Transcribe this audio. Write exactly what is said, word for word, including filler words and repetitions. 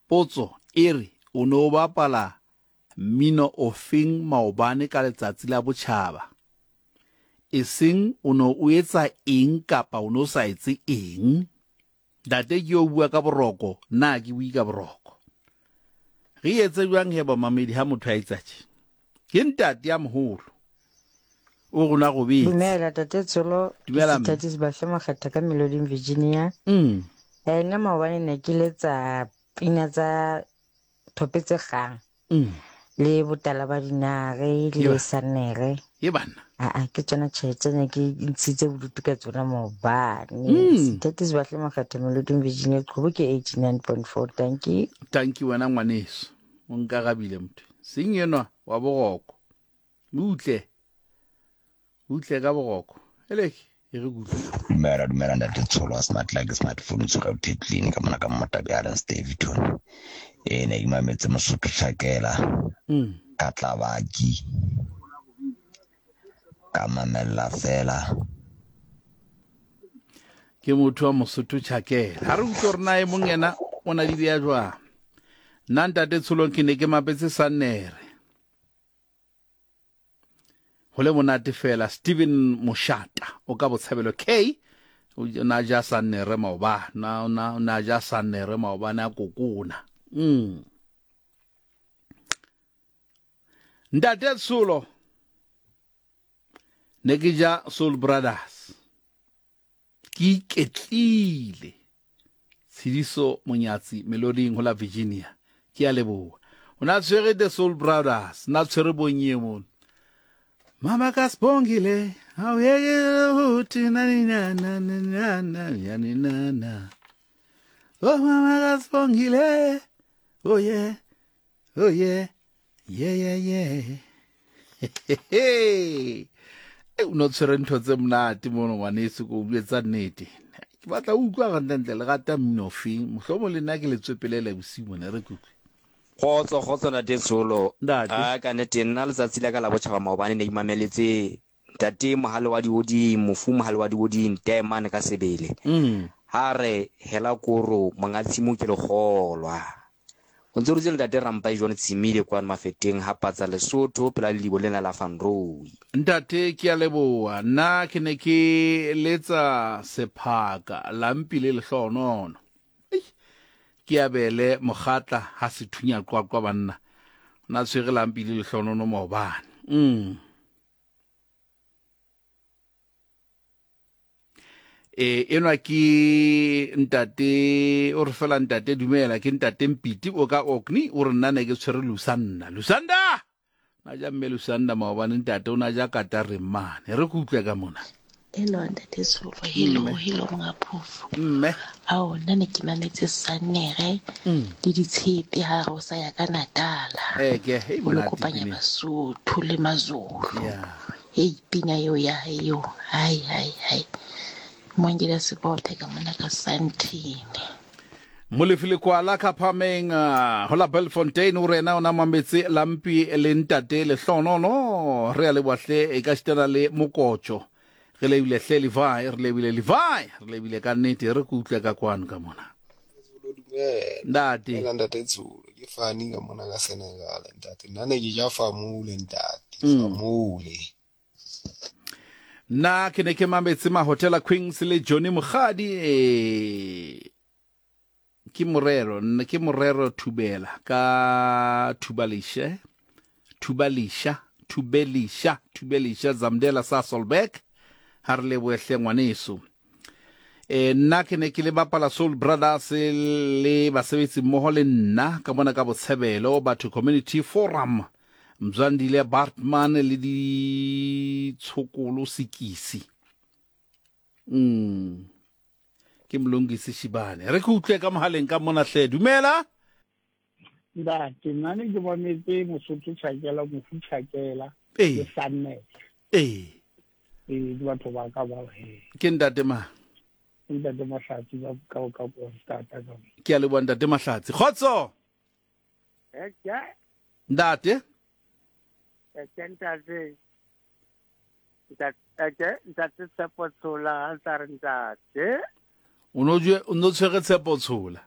Potso e re o ne o bapala mmino ofeng maobane ka letsatsi la botjhaba? Eseng o ne o etsa eng kapa o ne o sa etse eng? Ntate ke yo bua ka boroko, nna ke bue ka boroko. Re etse jwang he bamamedi ha motho a etsa tje? Ke ntate ya moholo. O rona robetse. Dumela tate Tsholo. Dumela mme. Ke Sibahle Makgetha ka Meloding Virginia. Mm. Eh nna maobane ne ke letsa pina tsa thope tse kgang. Mm. Le botala ba dinare le Eba. sanere. E banna. Aa ke tsona tjhe tse ne ke ntshitse bodutu ka tsona maobane. Mm. Tate Sibahle Makgetha Meloding Virginia Qhubu ke eighty-nine point four. Thank you. Thank you wena ngwaneso. O nkarabile motho. Seng enwa wa boroko. Utle. Utle ka boroko. Eleke e re kutlwe. Dumela dumela ntate Tsholo wa smart like smartphone tsoga Thetlini ka mona ka Mmotabi Island Daveyton. E ne ke mametse Mosotho Tjhakela Mm. ka Tlabaki ka mamella fela. Ke motho wa Mosotho Tjhakela. Ha re utlwe hore na e mong yena o na di beha jwang. Nna ntate Tsholong ke ne ke mapetse Sannere. Ho le monate fela Steven Moshata o ka Botshabelo K o na ja Sannere maobane, na na na ja Sannere maobane a kokona. Mm. Ntate Tsholo ne ke ja Soul Brothers. Ke iketlile. Tshidiso Monyatsi Meloding ho la Virginia. Ke a leboha. O na tshwere the Soul Brothers, na tshwere bonye mono. Mama Kasibongile, awuyeke ukuthi nani na na na na na ya ni na na. Oh mama Kasibongile, oh yeah, oh yeah, yeah yeah yeah. Hey, o no tshwere ntho tse monate mono ngwaneso, ko bue tsa nnete. Ke batla ho utlwa hantle le rata mmino ofeng, mohlomong le nna ke le tswepelele bosiu mona re kutlwe. Kgotso, kgotso ntate Tsholo. Ntate. A ka nnete nna letsatsi la ka la botjhaba maobane ne imameletse ntate Mohale wa Dihodimo, mofu Mohale wa Dihodimo, Taemane ka sebele. Mm. Ha re hela koro monga tshimo ke lekgolwa. O ntse o dutse le ntate Rampai John Tshimile kwano Mafeteng ha patsa Lesotho pela lelibo lena la Van Rooi. Ntate ke a leboha. Nna ke ne ke letsa sephaka lampi le lehlohonono. Ke abele mokgatla ha se thunya qwaqwa banna. Na tshwere lampi le lehlohonono maobane. Mm. E enwa ke ntate o re fela ntate dumela ke ntate Mpiti o ka Orkney o re nna ne ke tshwere Lusanda. Lusanda! Na ja mme Lusanda maobane ntate o na ja katare mane. Re go utlwe ka mona. Hello ntate Tsholo, hello, Mme. hello monga phofo. Mme. Ao nna ne ke mametse Sannere Mm. le ditshepe ha re o sa ya ka Natala. Eh, ke, hei, O lo monate kopanya pina. Basotho le Mazulu. Yeah. Hei, pina eo ya hae eo. Hai, hai, hai. Mongela Sebothe ka mona ka Santini. Molefi Lekwala ka Phameng, uh, ho la Belfontein o rena o na mametse lampi le ntate lehlohonono. Re a leboha hle, e ka shitana le mokotjo. Re lebile hle Levi, re lebile Levi, re lebile ka nnete, re ke utlwe ka kwano ka mona. Dumela. Ntate. Dumela ntate Tsholo, ke Fani ka mona ka Senegal ntate. Nna ne ke ja famule ntate, Mm. famule. Nna ke ne ke mametse Mahotela Queens le Johnny Mokgadi, eh, ke morero, nna ke morero Thubela ka Thubalishe, Thubalisha, Thubelisha, Thubelisha Zamdela sa Solberg. Ha re lebohe hle ngwaneso. Eh, nna ke ne ke le bapala Soul Brothers le basebetsi mmoho le nna ka mona ka Botshebelo Batho Community Forum, Mzwandile Bartman le Ditshokolo Sekisi. Mm. Ke Mlungisi Shibane. Re ke utlwe ka mohaleng ka mona hle. Dumela. Ntate, nna ne ke mametse Mosotho Tjhakela, Mofu Tjhakela Ee. le Sannere. Ee. Ee, ke batho ba ka ba he. Ke ntate mang? Ke ntate Mahlatsi ba ka ka Polstata ka. Ke a leboha ntate Mahlatsi. Kgotso. Eh, ke. Ntate. Eh, ke ntate. Ntate, eh, ke ntate Tshepo Tshola, ha ntsa re ntate. O no jwe, o no tshwere Tshepo Tshola.